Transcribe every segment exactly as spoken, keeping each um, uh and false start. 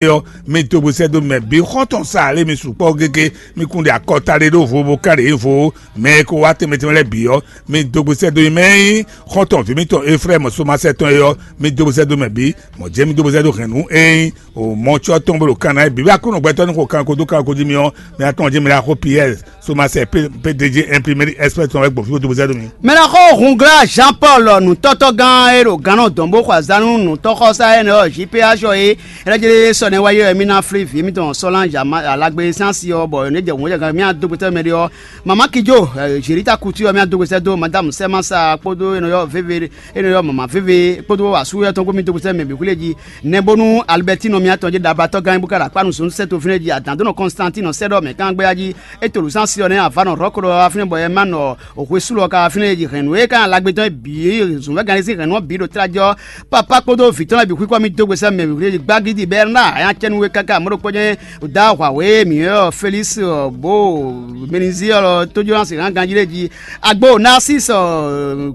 ɔ́, mi dó gbe sɛ́ dó mɛ bǐ xɔ́ntɔn sa lě mi sukpɔ́ gégé, mi kún ɖe akɔta ɖé ɖó vo bó ká ɖě vo mɛ e ko wá tɛnmɛ tɛnmɛ lɛ́ɛ bǐ ɔ́, mi dó gbe sɛ́ dó mɛ nyí xɔ́ntɔn vǐ mitɔn Eflɛ́mu somasɛ tɔn é ɔ́, mi dó gbe sɛ́ dó mɛ bǐ. Mɔ̌ jɛ́n mi dó gbe sɛ́ dó hɛ̌nnu e nyí o mɔ̌ cɔ́ tɔn bó ɖo kan ná é bǐ wá kó nɔ gbɛtɔ́ ní xo kanko dó kanko jí mi ɔ́, mi atɔn jí mi ɖo axó Piyɛ́ɛ somasɛ P D G imprimerie express tɔn wɛ gbɔn fí bó dó gbe sɛ́ dó mi. Mɛ ná xɔ Hungla Jean Paul nǔtɔ́tɔ́gán e ɖo gannɔ dɔn bó xɔ azǎn nú nǔtɔ́xɔsá énɛ́ ɔ́ J P H ɔ́ é, é ná jlé sɔ nɛ́ wá yi wɛ mì ná flí vǐ mitɔn Sɔ́lán Alagbe sín asi ɔ́, bɔ é nɔ́ jɛ hǔn jɛ mì á dó gbetɔ́ mɛ ɖé ɔ́, Mama Kijo, Jerita Kutu ɔ́, mì á dó gbetɔ́ dó Madame Sɛ́masa kpódó énɛ́ ɔ́ Vévé, énɛ́ ɔ́ Mama Vévé kpódó asú yɔ́ tɔn kpó mì dó gbetɔ́ mɛ bǐ xwlé jí. Nɛbónú Alibɛtino mì á tɔn jí ɖablatɔ́ gán bó ká ɖo akpá nǔ zɔn sɛ́ to fínɛ́ jí, adǎndónɔ Kɔnstantín nɔ sɛ́ ɖɔ mɛ kán gbéyá jí. É to lǔ sín asi ɔ́ nɛ́ avǎ nɔ Rɔ̌ko ɖɔ wá fínɛ́ bɔ Ɛmánɔ hwesúlɔ ka wá fínɛ́ e ji hɛ̌nnu e ka nyí alagbetɔ́ e bǐ e zǔnvɛ́gán lɛ́ɛ sín hɛ̌nnu ɔ́ bǐ ɖo tlá jɛ ɔ́, Papa kpódó vǐ tɔn lɛ́ɛ bǐ xwíxɔ mì dó gbe sɛ́ mɛ wǐwlí gbágídí Bɛrnáa a nyá cɛ́nú we káká mɔ̌ ɖokpó jɛ́n dó ahwǎhwe e mǐ ylɔ́ Felísi bó Menizi ɔ́ tójó ná se hán ganjí lɛ́ɛ jí. Agbo Nasísi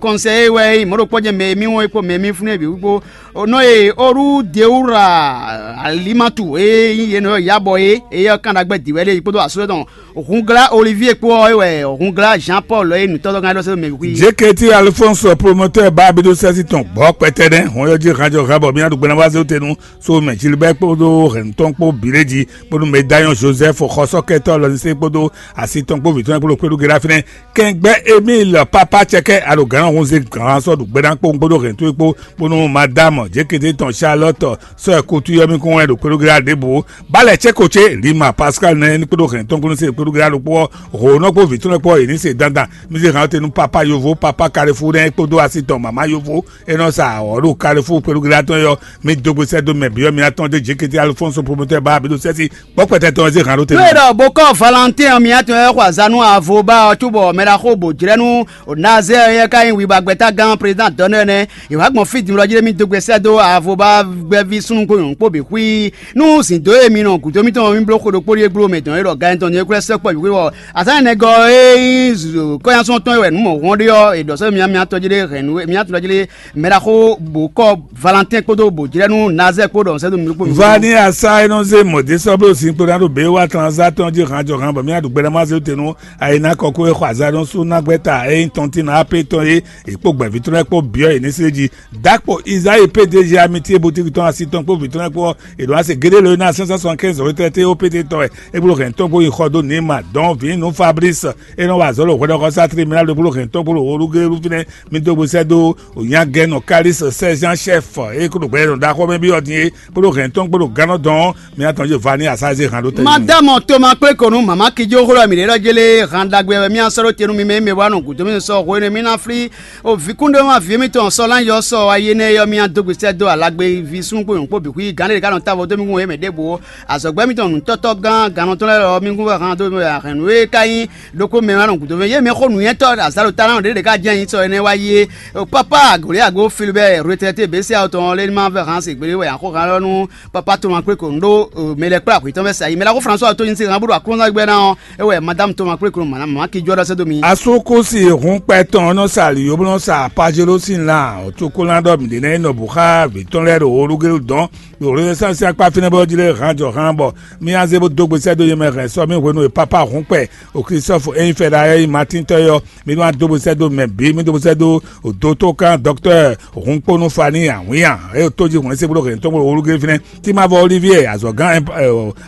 kɔnsɛ́ e wɛ nyí mɔ̌ ɖokpó jɛ́n mɛ e mì wɔn é kpó mɛ e mì fún é bǐ kpó nɔ e Oru Deura Alimatu e nyí yě nɔ yabɔ é, éyɛ́ ɔ́ kan ɖagbe dǐ wɛ ɖe kpódó asú tɔn Hungla Olivier kpó ɔ́ é wɛ Hungla Jean Paul e nǔtɔ́tɔ́gán ɖɔ sɛ́ mɛ wíwí. Jeketi Alphonse promotɛ́ ba abiɖosɛ́si tɔn gbɔ̌ kpɛtɛ́nɛ́ hɔn yɔ́ jí hanjɔ han bɔ mì ná ɖo gbɛ́nàbázé tenu so mɛ Gilbert kpódó hɛ̌nutɔn kpó bǐ lé jí bónú Medayɔn Joseph xɔsɔ́kɛtɔ́ lɔnise kpódó asi tɔn kpó vǐ tɔn kpó ɖo kpéɖu Gerafínɛ kɛngbɛ́ Emile Papa Cɛkɛ alogǎn hunze gǎn sɔ́ ɖu gbɛ́ ná kpó kpódó hɛ̌nutɔn kpó bónú Madame Jeketi tɔn Charlotte sɔ́ ɛ kutu yɔ́ mì kún wɛ ɖo kpéɖu Gera ɖěbǔ. Balɛ cɛ́ ko ce Lima Pascal nɛ́ ní kpódó hɛn tɔ́nkúnú se kpódó gblá ɖokpó ɔ́, hǒnɔ kpó vǐ tɔn lɛ́ɛ kpó ɔ́, yě ní se dandan. Mi se hǎn te nú Papa Yovo, Papa Kalefú nɛ́ kpódó asi tɔn Mama Yovo e nɔ sa awɔ̌ ɖo Kalefú kpódó gblá tɔn é ɔ́, mi dó gbe sɛ́ dó mɛ bǐ ɔ́, mi ná tɔ́n dó Jekete Alfonso promotɛ́ ba bǐ ɖo sɛ́si kpɔ́kpɛtɛ tɔn e zé hǎn ɖó te. Nú è ɖɔ bó kɔ́ Valentín ɔ́, mi ná tɔn ɛ xɔ azǎn nú avo ba ɔ́ cóbɔ mɛ ɖaxó bǒ jlɛ́ nú Nazɛ́ɛ ɔ́ ka nyí wibagbɛ́tágán prézidán dɔ̌n nɛ́ nɛ́. È wǎ gbɔn fí din wlɔ jí ɖé mì dó gbe sɛ́ dó avo ba gbɛ́ví súnnu kpó nyɔ̌nu kpó bǐ xwí. Nú zǐn dó e mi nɔ gǔdo mitɔn mì bló xwe ɖokpó ɖíe gbló mɛ dɔn e ɖɔ ganjɔ́n ní é kwlɛ́ sɛ́kpɔ yǔhwe ɔ́, azǎn énɛ́gɔ́ e nyí kɔ́nyánsɔ́n tɔn e wɛ nǔ mɔ̌hɔn ɖe ɔ́, è ɖɔ sɛ́ mì mì atɔn jí ɖé hɛn nǔ mì atɔn jí ɖé mɛɖaxó bǒ kɔ́ Valentín kpódó bǒ jlɛ́ nú Nazɛ́ɛ kpó ɖɔ sɛ́ dó mi ɖokpó mi. Vani asa e nɔ zé mɔ̌désɔ́bló sin kpó ná ɖo běwa tlan zá tɔn jí hanjɔhan bɔ mì aɖu gbɛɖamazé te nú ayinakɔkú e xɔ azǎn nú sú ná gbɛ́ ta e nyí tɔntín ná apé tɔn é, è kpó gbɛ̌ví tɔn lɛ́ɛ kpó byɔ́ yě ní slé jí. Dakpo Izayi P D G amitié boutique tɔn asi tɔn kpó vǐ tɔn lɛ́ɛ kpó ɔ́, è ɖǒ ná se géɖé lo e ná cinq cent soixante-quinze retraité O P T tɔn wɛ é bló hɛn tɔn kpó yi xɔ dó Nima dɔn vǐ nú Fabrice e nɔ wa azɔ̌ ɖo hwɛɖɔxɔsá tribunal ɖokpó ɖo hɛn tɔn kpó ɖo Olugélu fínɛ́. Mi dó gbe sɛ́ dó Onyagɛnɔ Kalixte Sɛ́zán Chɛ́f e kó ɖo gbɛɖɔ ɖaxó mɛ byɔ́ din é, kpó ɖo hɛn tɔn kpó ɖo gannɔ dɔn ɔ́, mi ná tɔn jí vani asá e zé han ɖó tɛ́. Madame Toma kplé ko nú mama kijo xlɔ́ mi ɖě ɖɔ jélé han ɖagbe wɛ mì sɔ́ ɖó te nú mi mɛ mi wá nɔ gǔdo mi sɔ hwenu mi ná flí O vǐkúnɖéwúnví mitɔn sɔ́ lán yɔ sɔ wá yi énɛ́ ɔ́, mì dó gbe sɛ́ dó alagbe ví súnnu kpó nyɔ̌nu kpó bǐ xwí gǎn ɖé ɖě ká nɔ távo dó mì kún wěmɛ ɖěbǔ ó. Azɔ̌gbɛ́ mitɔn nǔtɔ́tɔ́ gán gannɔtɔ́ lɛ́ɛ lɔ mì kún wɛ han dó mɛ hɛ̌nnu e ka nyí ɖokpó mɛ wá nɔ gǔdo mɛ yé mɛ xó nǔnywɛ́tɔ́ azǎlo talán ɖě ɖě ká jɛ́n nyi sɔ énɛ́ wá yi é. Papa Goliago Filibɛ́ retraité běsé awotɔn lé ní ma vɛ han se gběɖé wɛ axó han lɔ nú papa Toma kpé ko nǔ ɖó mɛ lɛ́ɛ kplá hwǐ tɔn mɛ sa yi mɛ lɛ́ɛ xó François tó nyi se han bó ɖo aklúnzán gbɛ́ ná ɔ́. É wɛ Madame Toma kplé kplɔ́n mama mama ki jɔ ɖɔ sɛ́ dó mi. Asúkúsi hun kpɛ tɔn nɔ sa ali yóblɔ́ sa Pajelo sín lan tokólán ɖɔ mǐ ɖe ná yi nɔ bǔ xá vǐ tɔn lɛ́ɛ ɖo Olugélu dɔn ɖo Renaissance sín akpá fínɛ́ bɔ jí lé han jɔ han bɔ mì azé bó dó gbe sɛ́ dó yě mɛ hɛn sɔ mì hwenu e pápá hun kpɛ o Christophe Enyifɛɖa e nyí Matín tɔ́ é ɔ́, mì nɔ dó gbe sɛ́ dó mɛ bǐ, mì dó gbe sɛ́ dó dótókan dɔktɔ́ Hunkponu Fani Awǐnnya e tó jí hwɛ̌n sébúɖó hɛn tɔn bó Olugélu fínɛ́. Timávo Olivier azɔ̌gán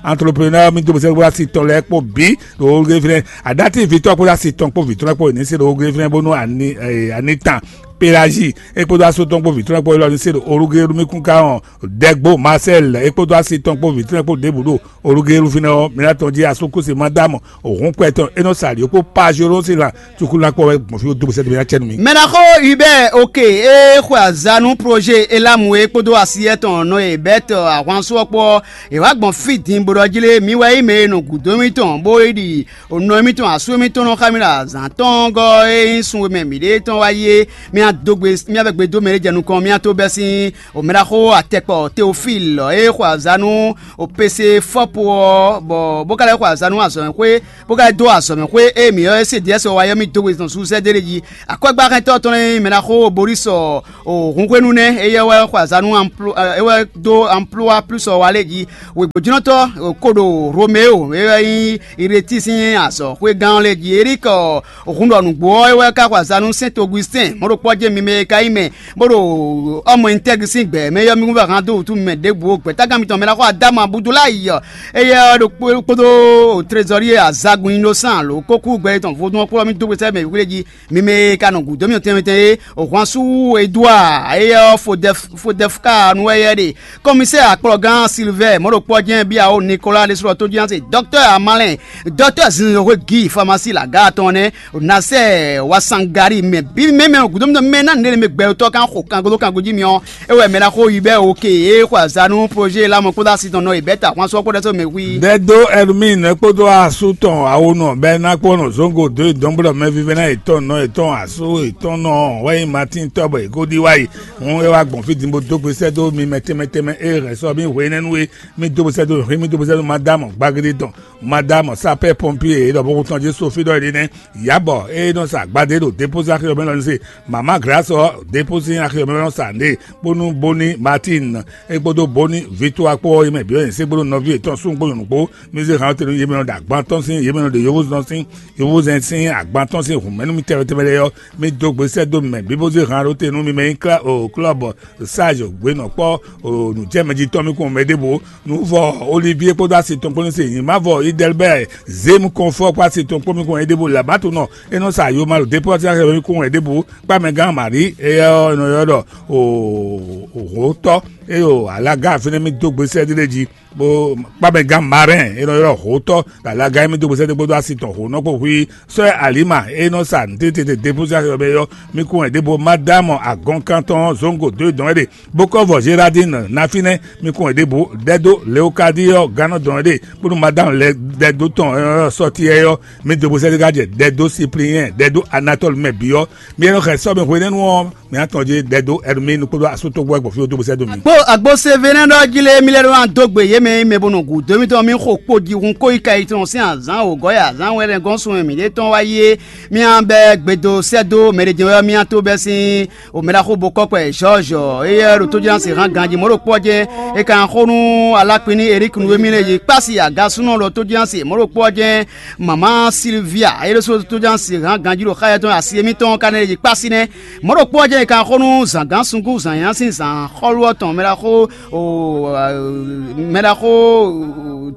entrepreneur mi dó bó sɛ́ wá si tɔn lɛ́ɛ kpó bǐ ɖo Olugélu fínɛ́. Aɖátívítɔ́ kpódó asi tɔn kpó vǐ tɔn lɛ́ɛ kpó yě ní se ɖo Olugélu fínɛ́ bónú Anitan Pelagie é kpódó asú tɔn kpó vǐ tɔn lɛ́ɛ kpó élɔ́ ní se ɖo Olugélu mì kún ká hɔn Dɛgbo Marcel é kpódó asi tɔn kpó vǐ tɔn lɛ́ɛ kpó ɖěbǔ ɖo Olugélu fínɛ́ ɔ́, mi ná tɔn jí asúkúsi Madamu Òhúnpɛ tɔn é nɔ sa ɖě kpó Pajolósi lan Cukulakpɔ wɛ gbɔn fí dó bó sɛ́ dó ná cɛ́ nú mi. Mɛ ná xó Hubert Oke e xwe azǎn nú projet Elamu e kpódó asiyɛ tɔn nɔ e Bɛt ahwansu ɔ́ kpó ɔ́, è wá gbɔn fí din bó ɖɔ jí lé mi wɛ nyí mɛ e nɔ gǔdo mitɔn bó yi ɖi nɔ mitɔn asú mitɔn nɔ xá mi ɖo azǎn tɔn gɔ́ e nyí sun e mɛ mǐɖée tɔn wá yi é. Mi ná dó gbe mía bɛ gbe dó mɛ e jɛ nukɔn mía tó bɛ́ sín omɛɖaxó atɛkpɔ Teofil e xwe azǎn nú opese fɔ́po ɔ́, bɔ bó ka lɛ́ xwe azǎn nú azɔ̌mɛxwé, bó ka lɛ́ dó azɔ̌mɛxwé e mǐ ylɔ́ ɛ se Diɛ́sɔ wa ɔ́ mì dó gbe tɔn sú sɛ́ dó é ɖé jí. Akwɛ́gbáxɛntɔ́ tɔn e mɛ ná xó Borísɔ Hunhwenu nɛ́, éyɛ́ wɛ xwe azǎn nú é wɛ dó Amplua Plus ɔ́ wa lé jí. Wěgbójúnɔtɔ́ ko ɖo Romeo, é wɛ nyí Ireti sín azɔ̌xwégán ɔ́ lé jí. Erík hun ɖɔ nǔgbó ɔ́, é wɛ ka xwe azǎn nú Sɛ́nt Ogustín, mɔ̌ ɖokpó ɔ́ jɛ́n mi mɛ e ka nyí mɛ bó ɖo ɔmɔ nyitɛ́gi sín gbɛ̌ mɛ ɔ́, mi kún vɛ hán dó wǔtú mɛ ɖěbǔ ó. Gbɛ̌tágán mitɔn mɛ ná xɔ Adámu Abudulayi ɔ́, éyɛ́ ɔ́ ɖo kpódó trezɔ́rí e azagun nyí ɖó sán alo kókú gbɛ tɔn vodún ɔ́ kplɔ́ mì dó gbe sɛ́ mɛ wíwlé jí. Mi mɛ e ka nɔ gǔdo mì tɛnmɛ tɛnmɛ é, Hwansu Edouard, éyɛ́ ɔ́ Fodɛfka nu wɛ yɛ ɖe. Kɔmisɛ́ɛ akplɔ́gán Silvɛ́ɛ mɔ̌ ɖokpó ɔ́ jɛ́n Biawo Nikolaa ɖésú ɔ́ tójínásɛ, dɔktɔ́ Amalɛn, dɔktɔ́ Zinzɔnxwe Gii Famasi lagǎ tɔn nɛ́, Nasɛ́ɛ Wasangari mɛ bí mɛ mɛ gǔdo mì tɔn mɛ ná nɛ́ mɛ gbɛtɔ́ kan xo kango dó kango jí mi ɔ́, é wɛ mɛ ná xó yi bɛ́ oke é xo azǎn nú projet lamɔ kpódó asi tɔn nɔ e bɛ́ ta hwan sɔ́ kpódó ɛ́ sɔ́ mɛ hui. Dɛdó Ɛlmín kpódó asú tɔn awonɔ bɛ́ ná kpɔ́n nɔ zɔ́ngó dó dɔ̌nblɔ́ mɛ vívɛ́ná yětɔn nɔ yětɔn asú yětɔn nɔ wɛ nyí Matín tɔ́ bɔ è ko ɖi wá yi. Hǔn é wá gbɔn fí din bó dó gbe sɛ́ dó mi mɛ tɛnmɛ tɛnmɛ e hɛn sɔ́ mì hwenɛ́nu é. Mì dó gbe sɛ́ dó hwǐ mì dó gbe sɛ́ dó Madámɔ gbagédé tɔn, Madámɔ sápɛ́ pɔnpié e ɖɔ bókun tɔn jí Sofí ɖɔ é ɖi nɛ́. Yǎbɔ e nɔ sa agbadé ɖo dépozé axi ɔ́ mɛ lɔ ní se. Mama Glásɔ dépozé axi ɔ́ mɛ lɔ nɔ sa nɖe bónú Boni Matín é kpódó Boni Vitoa kpó ɔ́, yě mɛ bǐ wɛ nyɛ sɛ́ kpódó nɔví yětɔn súnnu kpó nyɔ̌nu kpó. Mì zé hǎn ɔ́ te nú yě mɛ nɔ ɖo agban tɔn sín, yě mɛ nɔ ɖo yovózɔn sín, yovózɛn sín agban tɔn sín hǔnmɛnú mì tɛnmɛ tɛnmɛ lɛ́ɛ ɔ́, mì dó gbe sɛ́ dó mɛ bǐ bó zé hǎn ɖó te nú mi mɛ nyí klá o klɔ́bɔ sáz gběnɔkpɔ́ o nǔjɛmɛ jí tɔn mì kún mɛ ɖěbǔ. Nǔvɔ Olivíe kpódó asi tɔn kpó ní se nyǐmavɔ Idɛlbɛ́ɛ Zému kɔnfɔ kpó asi tɔn kpó mì kún mɛ ɖěbǔ. Labatunɔ é nɔ sa yoma ɖo dépɔ́tín axɛ mì kún mɛ ɖěbǔ. Kpámɛgán Mari éyɛ́ ɔ́ è nɔ ylɔ́ ɖɔ hǒtɔ́ é ɖo alaga fínɛ́ mì dó gbe sɛ́ ɖé jí. Bó kpámɛgán Marɛn é nɔ ylɔ́ hǒtɔ́ ɖo alaga émí dó gbe sɛ́ dó kpódó asi tɔn hǒnɔ kpó hwí. Sɔ́ Alima e nɔ sa nǔtitete dépúsí axi ɔ́ mɛ ɔ́, mi kún wɛ ɖěvo Madámɔ agɔnkan tɔn zɔ́n gǒ dó e dɔn é ɖe, bó kɔ́ vɔ Zeradín ná fínɛ́, mi kún wɛ ɖěvo ɖɛdó Leokadíɔ gannɔ dɔn é ɖe, bónú Madámɔ lɛ ɖɛdó tɔn sɔ́ti ɛ ɔ́, mi dó gbe sɛ́ dó ká jɛ ɖɛdó Sipliyɛ́n, ɖɛdó Anatɔ́lu mɛ bǐ ɔ́. Mi e nɔ xɛ sɔ́ mi hwenɛ́nu ɔ́, mi ná tɔn jí ɖɛdó Ɛrmínu kpódó asútɔ́gbó wɛ gbɔn fí ó dó gbe sɛ́ dó mi. Kpó agbo Sevenɛ́ ɖɔ jí lé mì lɛ́ ɖó ná dó gbe yě mɛ e mɛ bo nɔ gǔdo mitɔn mì xo kpo jixun kó yi ka yi tɔn sín azǎn wǒgɔ́ yi azǎn wɛ lɛ́ gɔ́n sun e mǐɖée tɔn wá yi é, mì ná bɛ́ gbe dó sɛ́ dó mɛ ɖé jɛ́n wɛ ɔ́, mì ná tó bɛ́ sín omɛɖaxó bo kɔ́kpɛ Jɔ́ɔ́jɔ, éyɛ́ ɖo tójínásí hán ganjí mɔ̌ ɖo kpɔ́ jɛ́n. È ka ná xó nú Alákpín ní Erík nú émí lɛ́ɛ yi kpási agasúnɔ ɖɔ tójínásí mɔ̌ ɖo kpɔ́ jɛ́n. Mamá Silvia é ɖésú tójínásí hán ganjí ɖo xá yɛtɔn asi émítɔn ká nɛ́ yi kpási nɛ́. Mɔ̌ ɖokpó ɔ́ jɛ́n è ka xó nú zǎngán sunkún zǎnyá sín zǎnxɔ́lú ɔ́ tɔn mɛɖaxó mɛɖaxó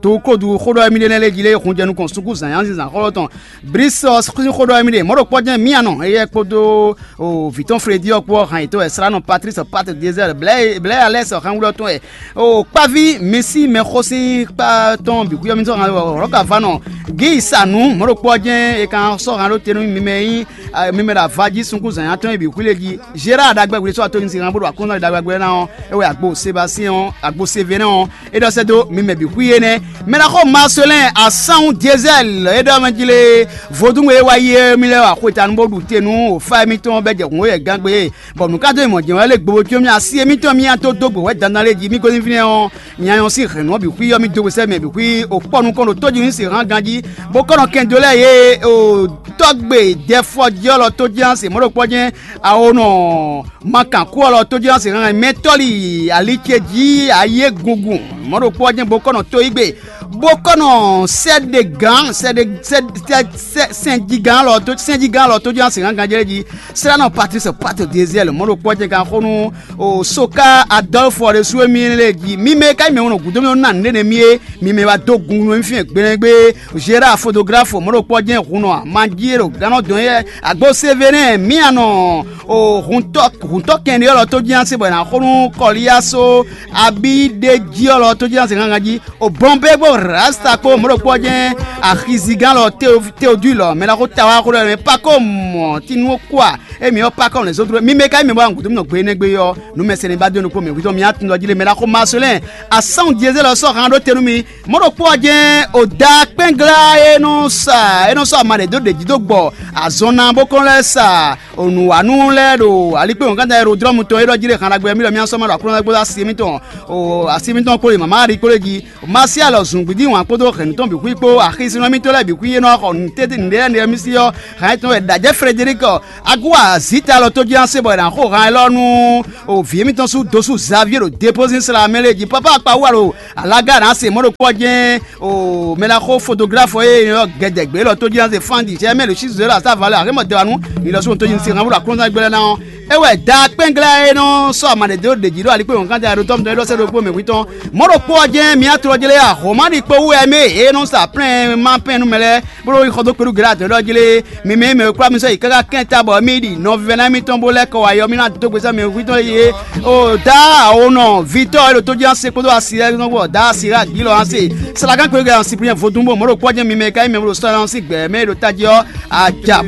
dukódu xó ɖɔ émí ɖé nɛ́ lé jí lé hun jɛ nukɔn sunkún zǎnyá sín zǎnxɔ́lú ɔ́ tɔn. Brisɔ sín xó ɖɔ émí ɖé. Mɔ̌ ɖokpó ɔ́ jɛ́n mía nɔ éyɛ́ kpódó vǐ tɔn Fredí ɔ́ kpó ɔ́ hán yětɔn wɛ slánɔ Patrice Patrice Désert blɛ́ alɛ́sɔ hɛn wúlɔ tɔn wɛ. O kpaví mi sín mɛxó sín kpa tɔn bǐ xwíyɔ mi sɔ́ hán lɔ̌ ka va nɔ gǐ sa nǔ. Mɔ̌ ɖokpó ɔ́ jɛ́n è ka sɔ́ hán ɖó te nú mi mɛ nyí mi mɛ ɖo avají sunkún zǎnyá tɔn e bǐ xwí lé jí. Gérard ɖagbe hwlé sɔ́ atónyi sin hán bó ɖo akɔ́nɔ ɖagbe ná ɔ́, é wɛ agbo Sébastien ɔ́, agbo Sévénɛ́ ɔ́, é ɖɔ sɛ́ dó mi mɛ bǐ xwí énɛ́. Mɛ ná xó Marcelin Asanwu Diesɛl é ɖɔ mɛ jí lé vodún e wá yi é mi lɛ́ wa xwetanu bó ɖu te nú wǒfá émítɔn bɛ́ jɛ hǔn é yɛ gán gbé. Bɔ nǔ ka dó mɔ jɛ̌n wɛ lé gbobo có mì asi émítɔn mì nya tó dó gbe wɛ dandan lé jí mì gosín fínɛ́ ɔ́, nya nyɔ́ sín hɛ̌nnu ɔ́ bǐ xwí ɔ́ mì dó gbe sɛ́ mɛ bǐ xwí òkpɔ́nukɔn ɖo tójínú se hán ganjí, bó kɔ́ nɔ kɛn dó lɛ́ɛ yě o tɔ́gbe dɛfɔjí ɔ́ lɔ tójínú se mɔ̌ ɖokpɔ́ jɛ́n awonɔ makan kú ɔ́ lɔ tójínú se hán mɛ tɔ́li ali ce jí ayé gungun mɔ̌ ɖokpɔ́ jɛ́n bó kɔ́ nɔ tó yí gbe bó kɔ́ nɔ sɛ́ ɖe gǎn sɛ́ ɖe sɛ́ sɛ́ sɛ́ sɛ́njígán lɔ tó sɛ́njígán lɔ tójínú se hán ganjí lé jí. Sránɔ Patrice Pato Désir mɔ̌ ɖokpó ɔ́ jɛ kan xó nú o Soka Adolphe ɖésú émí lé jí. Mi mɛ ka mɛ wonɔ gǔdo mɛ ná nǔɖé nɛ mì é, mi mɛ wá dó gun nú émí fínɛ́ gbeɖégbé. Gérard photographe mɔ̌ ɖokpó ɔ́ jɛ hun nɔ manjí e ɖo gannɔ dɔn yɛ agbo Sévérin mì anɔ o huntɔ huntɔ kɛnɖé ɔ́ lɔ tó jí ase bɔ è nǎ xó nú Kɔlíaso abí ɖé jí ɔ́ lɔ tó jí ase gangan jí. O bɔnbé gbɔ Rasta kpó mɔ̌ ɖokpó ɔ́ jɛ́n axizigán lɔ Teodui lɔ mɛ ná xó ta wá xó ɖɔ mɛ Pakɔ́ mɔ Tinúkúa émi ɔ́ Pakɔ́ lɛ̌ zɔ́n dó mì mɛ ka émi bɔ agun mì nɔ gbe énɛ́ gbe ɔ́ nú mɛ sɛnɛ ba dó nukpó mɛ hwitɔ́ mi atun jí lé mɛ ná xó Marcelin asán Diezé lɔ sɔ́ han ɖó te nú mi. Mɔ̌ ɖokpó ɔ́ jɛ́n o da kpɛ́nglá e nɔ sa e nɔ sɔ́ ama ɖě dó ɖě jí dó gbɔ azɔn ná bó kɔn lɛ́ sa onǔwanú lɛ́ɛ ɖo alikpéwɔ̌nkántá Erodlɔ́mu tɔn e ɖɔ jí ɖe han ɖagbe mì ɖɔ mì asɔ́ ma ɖo aklúnɔgbó asi émítɔn o asi émítɔn kpó ɖe mama Mari kpó ɖé jí. Masialɔ zungbidi wǎn kpódó hɛ̌nnu tɔn bǐ xwí kpó axisínɔ émítɔn lɛ́ɛ bǐ xwí e nɔ xɔ nǔtɛ́tɛ́ nǔɖé lɛ́ɛ nɛ́ mì sí ɔ́, hɛn tɔn wɛ ɖajɛ Frederic Agu azita lɔ tó jí ná se bɔ è nǎ xo han élɔ́ nú o vǐ émítɔn sú dosú Xavier ɖo dépozín sla mɛ lé jí pápá akpa wú alo alaga nǎ se mɔ̌ ɖokpó ɔ́ jɛ́n o mɛ ná xó fotografɔ e nyɔ́ gɛdɛgbě lɔ tó jí ná se fán ɖi jɛ mɛ ɖo sí zǒ la sá valɛ axémɔ dɛwanu ni lɔ sú tó jí ní se han bó ɖo aklúnɔgbé lɛ́ɛ ná ɔ́. É wɛ da kpɛ́nglá e nɔ sɔ́ ama ɖě dó ɖě jí ɖo alikpé wɔ̌nkántɛ ɖo tɔ́mɔtɔn é ɖɔ sɛ́ ɖokpó mɛ hwítɔn. Mɔ̌ ɖokpó ɔ́ jɛ́n mǐ tlɔ́ jlé axɔ̌mánɖi kpó wú wɛ mɛ e nɔ sa plɛ́n ma pɛn nú mɛ lɛ́ɛ bó ɖo xɔ dó kpeɖú Galati ɖɔ jlé mi mɛ e mɛ e kwlá mi sɔ́ yi káká kɛ́n ta bɔ mì ɖi nɔvívɛ́ná mitɔn bó lɛ́ kɔ wá yɔ mì ná dó gbe sɛ́ mɛ hwítɔn yé. O da awonɔ vitɔ́ e ɖo tó jí ase kpódó asi lɛ́ɛ nɔ bɔ da asi ɖo agǐ lɔ ase. Salakan kpeɖú Galati Sipriɛn vodún bó mɔ̌ ɖokpó ɔ́ jɛ́n mi mɛ e ka nyí mɛ bó ɖo sɔ́ ná sí gbɛ̌ mɛ e ɖo tají ɔ́ aja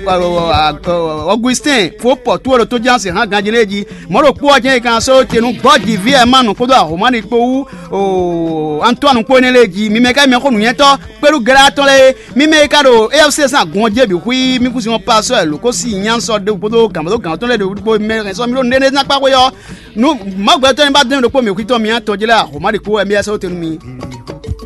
Ɔgustin fó pɔ̌tu e ɖo tó jí ase hán ganjí lɛ́ɛ jí. Mɔ̌ ɖokpó ɔ́ jɛ́n è ka sɔ́ te nú gbɔ́jivǐ Ɛmánu kpódó Ahomani kpó wú Antoine kpó énɛ́ lɛ́ɛ jí. Mi mɛ ka nyí mɛxó nǔnywɛ́tɔ́ kpéɖú Galati tɔn lɛ́ɛ é, mi mɛ e ka ɖo A F C sín agun ɔ́ jí é bǐ xwí mì kú sin ɔ́ pasɔ́ ɛ lǒ kó sí nyá sɔ́ ɖé kpódó gǎn kpódó gǎn tɔn lɛ́ɛ ɖo mɛ hɛn sɔ́ mì ɖó nǔɖé ná kpá xwé ɔ́. Nú Mawu gbɛtɔ́ ní ba dɔn mì ɖokpó mǐ xwítɔ́ mi atɔn jí lɛ́ɛ Ahomani kpó wɛ mi yɛ sɔ́ te nú mi.